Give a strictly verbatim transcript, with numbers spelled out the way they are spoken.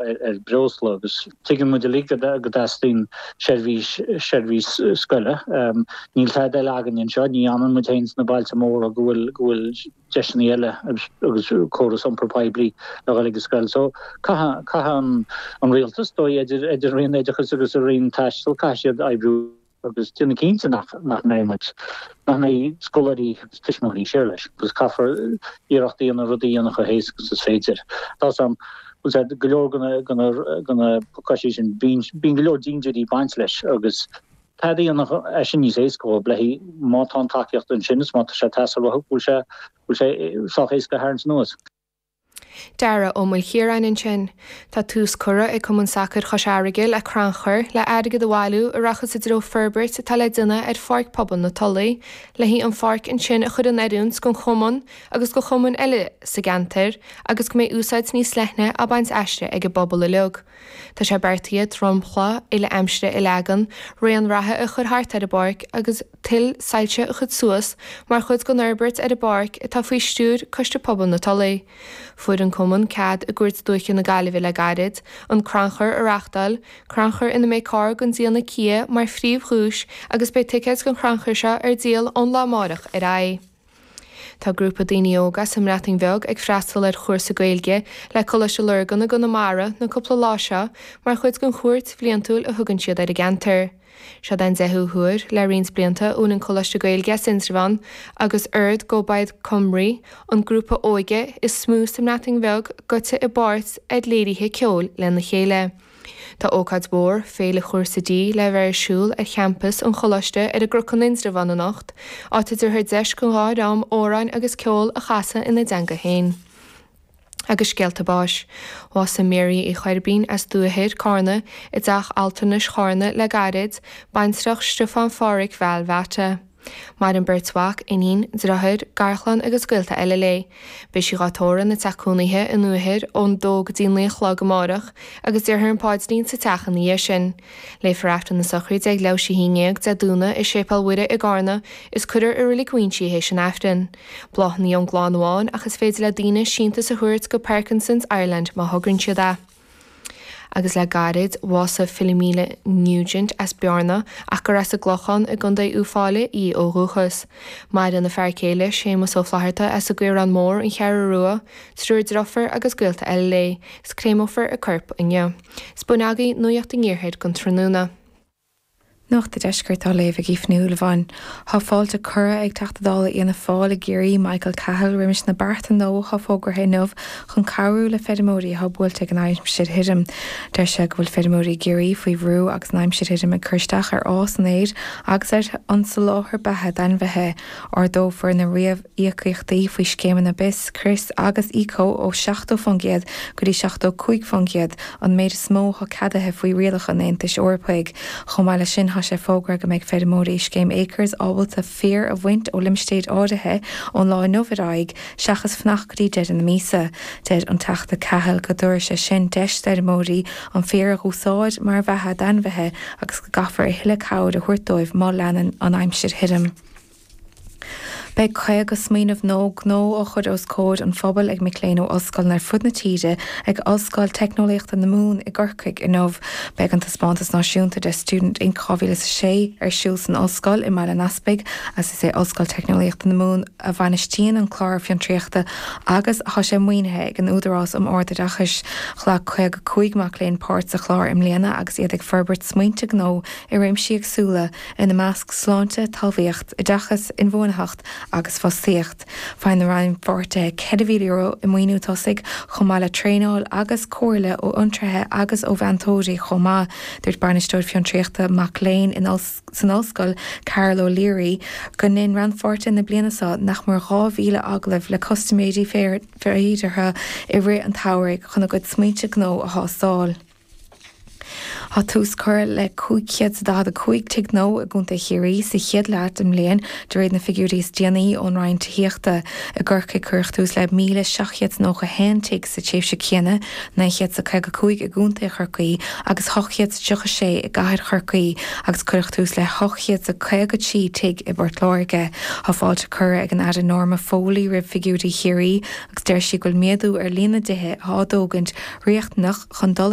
ar breosla agus tuigeann muid uilig go dteastaíonn seirbhís seirbhís scoile. Níl tada eile againn anseo, ní fhanann muid féin sna bailte móra go bhfuil go bhfuil deiseanna eile agus córas iompar poiblí le dhul ag an scoil. So caithfidh caithfidh an rialtas dóigh idir idir Roinn Oideachais agus an Roinn Taistil caithfidh siad oibriú agus déanamh cinnte nach nach mbeidh muid nach mbeidh scoláirí agus tuismitheoirí siar leis agus caithfear iarracht a dhéanamh rudaí a dhéanamh chomh héasca agus is féidir. Tá am go leor de na pacáistí sin bíonn go leor dindiúirí ag baint leis agus tada a dhéanamh é sin níos éasca dhóibh le má tá an tacaíocht ansin is má tá sé ag teastáil uathu bhfuil sé bhfuil sé sách éasca a tharraingt anuas. Dara Ó Maoilchiaráin ansin. Tá tús curtha ag Cumann Sacair Chois Fharraige le crannchur le airgead a bhailiú a rachas i dtreo forbairt atá le déanamh ar Pháirc Pobail na Tulaí, le haghaidh an pháirc ansin a chur in oiriúint don chumann agus do chumainn eile sa gceantar agus go mbeidh úsáid níos leithne á baint aisti ag an bpobal uilig. Tá sé beartaithe dromchla uile-aimsire a leagan, raon reatha a chur thart ar an bpáirc agus tuilleadh soilse a chur suas mar chuid den fhorbairt ar an bpáirc atá faoi stiúir Coiste Pobail na Tulaí. Fuair an Cumann cead i gCúirt Dúiche na Gaillimhe le gairid an crannchur a reáchtáil, crannchur ina mbeidh carr den déanamh Kia mar phríomhdhuais agus beidh ticéid don chrannchur seo ar díol ón lá amárach ar aghaidh. Tá grúpa daoine óga as an mBreatain Bheag ag freastal ar chúrsa Gaeilge le Coláiste Lurgan i gConamara na cúpla lá seo mar chuid den chuairt bhliantúil a thugann siad ar an gceantar. Seo den deichiú huair le roinnt blianta a bhfuil an Coláiste Gaeilge as Indreabhán agus Urdd Gobaith Cymru, an grúpa óige is mó sa mBreatain Bheag, gaibhte i bpáirt ar léirithe ceoil lena chéile. Tá ócáid mhór, Féile Chúrsa D, le bheith ar siúl ar champas an choláiste ar an gCnoc in Indreabhán anocht, áit a dtabharfar deis don dhá dhream amhráin agus ceol a chasadh ina dteanga féin. Agus scéalta báis. Bhásaigh Mary Uí Choirbín as Dúiche Carna i dteach altranais Charna le gairid, baintreach Stiofán Phádhraic Bheal Bheata. Maireann beirt mhac, iníon, deartháir, garchlann agus gaolta eile léi. Beidh sí dhá tórramh ina teach cónaithe i nDúiche ón dó go dtí naoi a chlog amárach agus déarfar an paidrín sa teach ina dhiaidh sin. Léifear Aifreann na sochraide ag leathuair tar éis a haon déag Dé Domhnaigh i Séipéal Mhuire i gCarna is cuirfear i Reilig Mhuinsí í théis an Aifrinn. Bláthanna ón gclann amháin ach is féidir le daoine síntiús a thabhairt go Parkinson's Ireland má thograíonn siad é. Agus le gairid, bhásaigh Philomena Nugent as Bearna ach gur as an gClochán i gContae Uíbh Fhailí í ó dhúchas. Maireann a fear céile, Séamus Ó Flatharta as an gCaorán Mór, An Cheathrú Rua, triúr deirfiúr agus gaolta eile léi, 's créamófar a corp inniu. 'S b'in agaibh Nuacht an Iarthair don tráthnóna. Nuacht an Deiscirt á léamh ag Aoife Ní Shúilleabháin. Tá fáilte curtha ag Teachta Dála Fhianna Fáil i gCiarraí, Michael Cahill, roimis na bearta nua atá fógartha inniu chun cabhrú le feirmeoirí atá buailte ag an aimsir thirim. Deir sé go bhfuil feirmeoirí i gCiarraí faoi bhrú agus an aimsir thirim ag cur isteach ar fhás an fhéir agus ar an soláthar beatha d'ainmhithe. Ardófar na réamhíocaíochtaí faoi scéimeanna BIS, Crios agus Eco ó seachtó faoin gcéad go dtí seachtó cúig faoin gcéad, an méid is mó atá ceadaithe faoi rialacha an Aontais Eorpaigh. Chomh maith leis sin, tá sé fógartha go mbeidh feirmeoirí Scéim Acres ábalta féar a bhaint ó limistéir áirithe ón lá inniu ar aghaidh, seachas fanacht go dtí deireadh na míosa. Deir an Teachta Cahill go dtabharfaidh sé sin deis d'fheirmeoirí an féar a dh'úsáid mar bheatha d'ainmhithe agus go gcaithfear a thuilleadh cabhair a thabhairt dóibh má leanann an aimsir thirim. Beidh caoga smaoineamh nua gnó á chur os comhair an phobail ag mic léinn ó ollscoileanna ar fud na tíre ag Ollscoil Teicneolaíochta na Mumhan i gCorcaigh inniu. Beidh an taispeántas náisiúnta de Student Inc dhá mhíle is a sé ar siúl san ollscoil i mBaile an Easpaig agus is é Ollscoil Teicneolaíochta na Mumhan a bhainistíonn an clár fiontraíochta agus tá sé maoinithe ag an Údarás um Ard-Oideachais. Ghlac caoga cúig mac léinn páirt sa chlár i mbliana agus iad ag forbairt smaointe gnó i réimsí éagsúla, ina measc sláinte, talmhaíocht, oideachas, inbhuanaitheacht agus fostaíocht. Faigheann na rannpháirtithe ceithre mhíle euro i maoiniú tosaigh, chomh maith le traenáil agus comhairle ó fhiontraithe agus ó mheantóirí chomh maith. Dúirt Bainisteoir Fiontraíochta Mac Léinn san Ollscoil, Carol O'Leary, go ndein rannpháirtithe na bliana seo nach mór dhá mhíle agallamh le custaiméirí féideartha i rith an tsamhraidh chun a gcuid smaointe gnó a thástáil. Tá tús curtha le cúig chéad is daichead a cúig tigh nua i gContae Chiarraí sa chéad leath den mbliain, de réir na figiúirí is déanaí ón Roinn Tithíochta. I gCorcaigh cuireadh tús le míle seacht gcéad is nócha a haon tigh sa tréimhse chéanna, naoi gcéad is caoga cúig i gContae Chorcaí agus ocht gcéad is tríocha sé i gCathair Chorcaí, agus cuireadh tús le hocht gcéad is caoga trí tigh i bPort Láirge. Tá fáilte curtha ag an Aire Norma Foley roimh figiúirí Chiarraí agus deir sí go bhfuil méadú ar líon na dtithe atá á dtógaint riachtanach chun dul i